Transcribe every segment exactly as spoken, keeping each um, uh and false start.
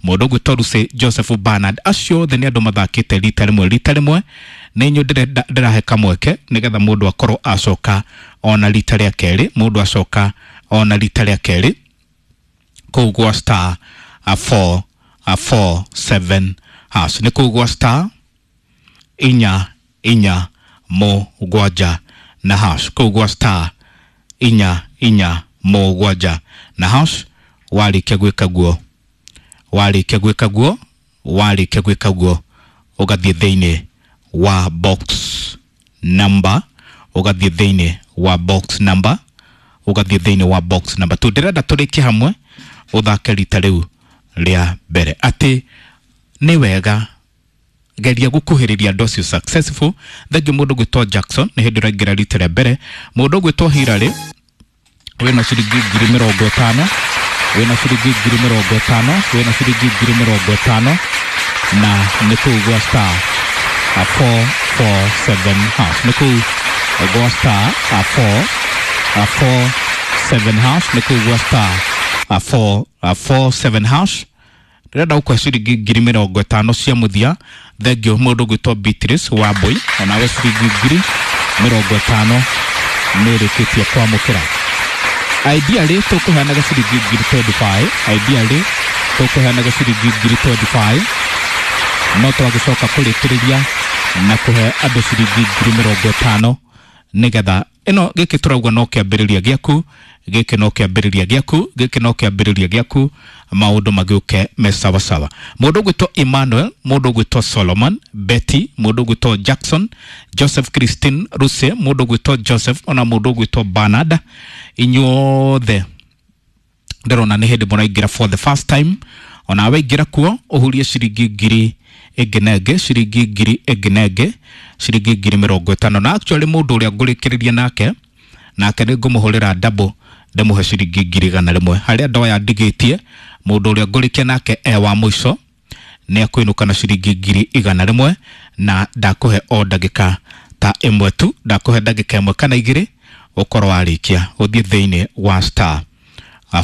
Mũndũ ũgwĩtwo Lucy, Joseph, Bernard, acio othe nĩ andũ mathakĩte rita rĩmwe rita rĩmwe. Nĩ inyuĩ ndĩrenda ndĩrahe kamweke nĩgetha mũndũ akorwo acoka ona rita rĩa kerĩ, mũndũ acoka ona rita rĩa kerĩ kũu gwa star four four seven hash. Nĩ kũu gwa star inya inya mũgwanja na hash, kũu gwa star inya inya mũgwanja na hash. Warĩkia gwĩka guo, warĩkia gwĩka guo, warĩkia gwĩka guo, ũgathiĩ thĩinĩ wa box number, ũgathiĩ thĩinĩ wa box number, ũgathiĩ thĩinĩ wa box number two. Ndĩrenda tũrĩkie hamwe, ũthake rita rĩu rĩa mbere atĩ nĩ wega geria gukuhĩrĩria andũ acio successful. Thengiũ mũndũ gwĩtwo Jackson, nĩ hĩndĩ ũraingĩra rita rĩa mbere. Mũndũ gwĩtwo Hillary, wĩna ciringi ngiri mĩrongo ĩtano, wĩna ciringi ngiri mĩrongo ĩtano, wĩna ciringi ngiri mĩrongo ĩtano, na nĩ kũu gwa star four four seven hash. Nĩ kũu gwa star four four seven hash. Nĩ kũu gwa star four four seven hash. Ndĩrenda gũkũhe ciringi ngiri mĩrongo ĩtano cia mũthia. Thengiũ mũndũ gwĩtwo Beatrice Wambui, onawe ciringi ngiri mĩrongo ĩtano nĩ ĩrĩkĩtie kwamũkĩra. Ideally tũkũheanaga ciringi ngiri mĩrongo ĩrĩ na ithano, ideally tũkũheanaga ciringi ngiri mĩrongo ĩrĩ na ithano, no twagĩcoka kũrĩkĩrĩria na kũhe andũ ciringi ngiri mĩrongo ĩtano nĩgetha ĩno gĩkĩ tũrauga no kĩambĩrĩria gĩaku, gĩkĩ no kĩambĩrĩria gĩaku, gĩkĩ no kĩambĩrĩria gĩaku, maũndũ magĩũke me sawasawa. Mũndũ ũgwĩtwo Emmanuel, mũndũ ũgwĩtwo Solomon, Betty, mũndũ ũgwĩtwo Jackson, Joseph, Christine, Ruse, mũndũ ũgwĩtwo Joseph, ona mũndũ ũgwĩtwo Bernard, inyuothe ndĩrona nĩ hĩndĩ mũraingĩra for the first time. Ona waingĩra kuo ũhurie ciringi ngiri ĩngĩ na ĩngĩ, ciringi ngiri ĩngĩ na ĩngĩ, ciringi ngiri mĩrongo ĩtano. Na actually mũndũ ũrĩa ngũrĩkĩrĩria nake nake nĩ ngũmũhũrĩra double, ndĩmũhe ciringi ngiri igana rĩmwe harĩa andũ aya ndigĩtie. Mũndũ ũrĩa ngũrĩkia nake e wa mũico nĩ akũinũka na ciringi ngiri igana rĩmwe, na ndakũhe o ndagĩka ta ĩmwe tu, ndakũhe ndagĩka ĩmwe kana igĩrĩ ũkorwo warĩkia ũthiĩ thĩinĩ wa star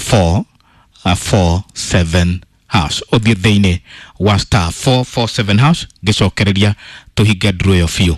four four seven hash, ũthiĩ thĩinĩ wa star four four seven hash, ngĩcokereria tũhinge nduru ĩyo biũ.